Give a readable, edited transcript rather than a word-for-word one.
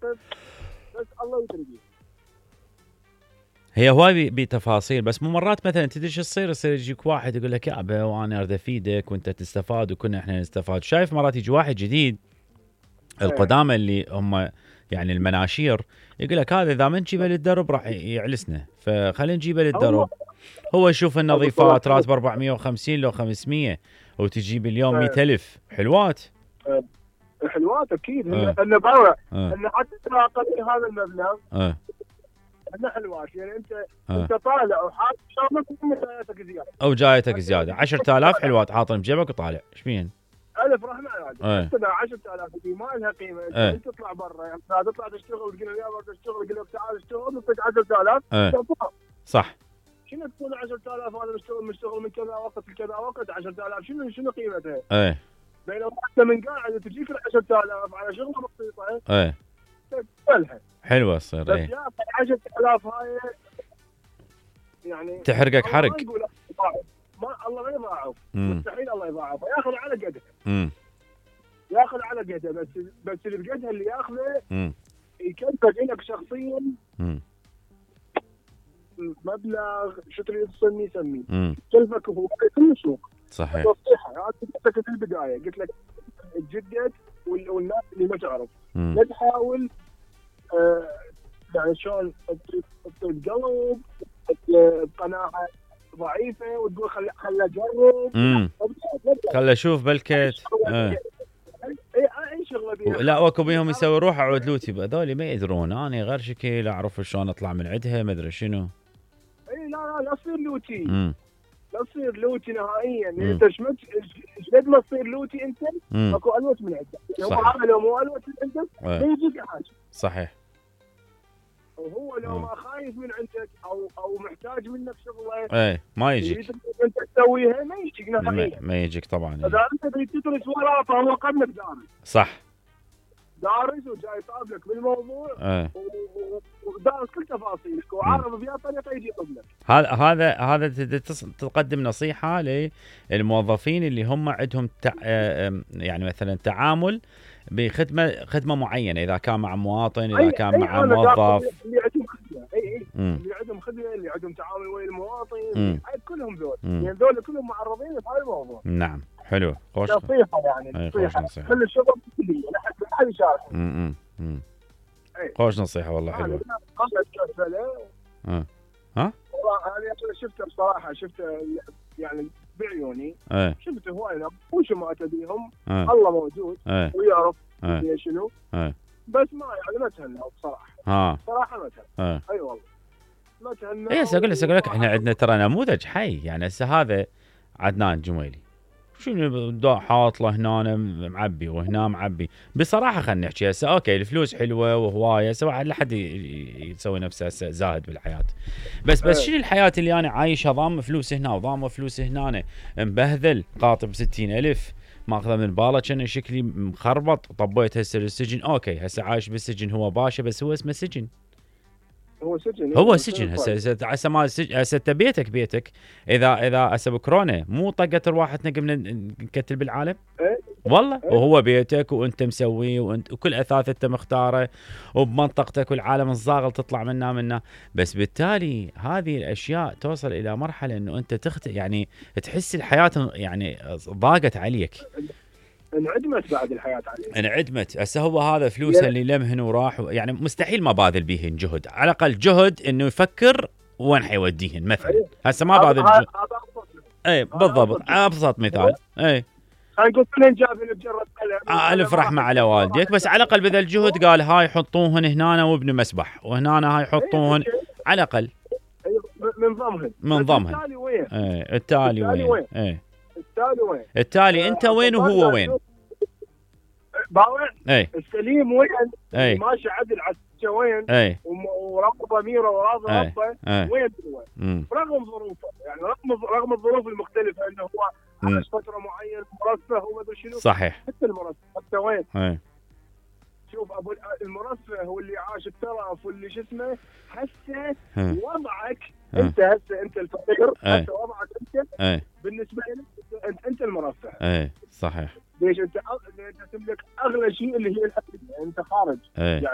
واقف بس الله يدري بيه. هي هواي بتفاصيل، بس مو مرات مثلا تدري شو يصير يجيك واحد يقول لك يابا وانا اريد افيدك وانت تستفاد وكنا احنا نستفاد. شايف مرات يجي واحد جديد القدامى اللي هم يعني المناشير يقول لك هذا اذا ما نجيبه للدرب راح يعلسنا، فخلينا نجيبه للدرب. هو يشوف النظيفات راتب 450 لو 500 وتجيب اليوم 100,000 حلوات. حلوات اكيد انه باوع انه حتى اقل هذا المبلغ انه حلوات. يعني انت طالع وحاط شغلك وجايتك زياده او جايتك زياده 10,000 حلوات حاطهم بجيبك وطالع ايش بين 1000 رحمه يعني حتى 10,000 دي ما لها قيمه. انت تطلع برا يعني تطلع تشتغل وتقول له يابا تشتغل يقول لك تعال اشتغل نعطيك 10,000 صح. شنو تكون 10,000 هذا مشتغل من كذا وقت لكذا وقت 10,000 شنو قيمتها؟ بينما انت من قاعد تجيك ال 10,000 على شغله بسيطه تقبلها حلوه تصير. بس يا 10,000 هاي يعني تحرقك حرق. ما الله ما يضاعف، مستحيل الله يضاعف، ياخذ على قده. ياخذ على قده بس اللي بقدها اللي ياخذه يكلفك لك شخصيا مبلغ شو تريد تسميه كلفك هو كل السوق. صحيح. نصيحه انا قلت لك في البدايه قلت لك تجدد والناس اللي ما تعرف لا تحاول يعني شلون تقلب بقناعه ضعيفه وتقول خل اجرب خل اشوف بلكت اي شغله بيها. لا اكو بيهم يسوي روح اعود لوتي هذول ما يدرون انا غير شكل اعرف شلون اطلع من عندها ما ادري شنو. اي لا تصير لوتي. لا تصير لوتي نهائيا. انت ايش قد ما تصير لوتي انت اكو الوت من عندك. هو هذا لو مو الوت من عندك ما يجيك حاجه. صحيح. وهو لو ما خايف من عندك او محتاج منك شغله ما يجيك انت تسويها ما يجيك نهائيا. ما يجيك طبعا. اذا انت تريد تدرس وراه فهو قدك دارس. صح. دارس وجاي طابلك بالموضوع ودارس كل تفاصيلك وعارف بها طريقه يجي قبلك. هذا تقدم نصيحه للموظفين اللي هم عندهم يعني مثلا تعامل بخدمه معينه، اذا كان مع مواطن اذا كان مع موظف اللي عندهم خدمه اللي عندهم خدمه اللي عندهم تعامل ويا المواطن كلهم ذول يعني ذول كلهم معرضين لهذا الموضوع. نعم حلو. خوش نصيحه يعني نصيحه كل الشغل كليه لا حد يشارك. خوش نصيحه والله حلوه. انا شفته بصراحه يعني بعيوني شفته هواي وش ما اتبيهم الله موجود ويعرف شنو بس ما تهنى بصراحه. صراحه ما تهنى. اي والله ما تهنى. اقول لك احنا عندنا ترى نموذج حي. يعني هسه هذا عدنان جميلي شنو حاط له هنا معبي وهنا معبي. بصراحه خلينا نحكي هسه اوكي الفلوس حلوه وهوايه سواء لا حد يسوي نفسه هسه زاهد بالحياه. بس شنو الحياه اللي انا عايشها ضام فلوس هنا وضام فلوس هنا مبهذل قاطب 60,000 ماخذه من باله كان شكلي مخربط طبيت هسه للسجن. اوكي هسه عايش بالسجن هو باشا بس هو اسمه سجن. هو سجن هسه ما هسه بيتك اذا هسه بكورونا مو طقت رواحتنا قمنا نكتل بالعالم والله. وهو بيتك وانت مسويه وانت وكل اثاث انت مختاره وبمنطقتك والعالم الصاغل تطلع منا بس بالتالي هذه الاشياء توصل الى مرحله انه انت يعني تحس الحياه يعني ضاقت عليك. انعدمت بعد الحياة عليه. انعدمت. هسه هو هذا فلوسه اللي لمهن وراح يعني مستحيل ما باذل بيهن جهد على الاقل جهد انه يفكر وين حيوديهن مثلا. هسه ما باذل جهد. بالضبط ابسط مثال. نقول كلن جابين بجرة قلم الف رحمه على والديك بس على الاقل بذل جهد قال هاي حطوهن هنا وابن مسبح وهنا هاي حطوهن على الاقل من ضمنهن. التالي وين التالي انت وين وهو وين باوع السليم وين ماشي عدل على وين ورغم ضميره وراضي ربه وين هو رغم ظروفه يعني رغم الظروف المختلفه انه هو عاش فتره معينه مرفه وما ادري شنو. صحيح. حتى المرفه حتى وين شوف ابو المرفه هو اللي عاش الترف واللي شو اسمه هسه وضعك انت هسه انت الفقير هسه وضعك انت بالنسبه لك انت المرفه. صحيح. ليش انت تملك اغلى شيء اللي هي الادويه انت خارج يعني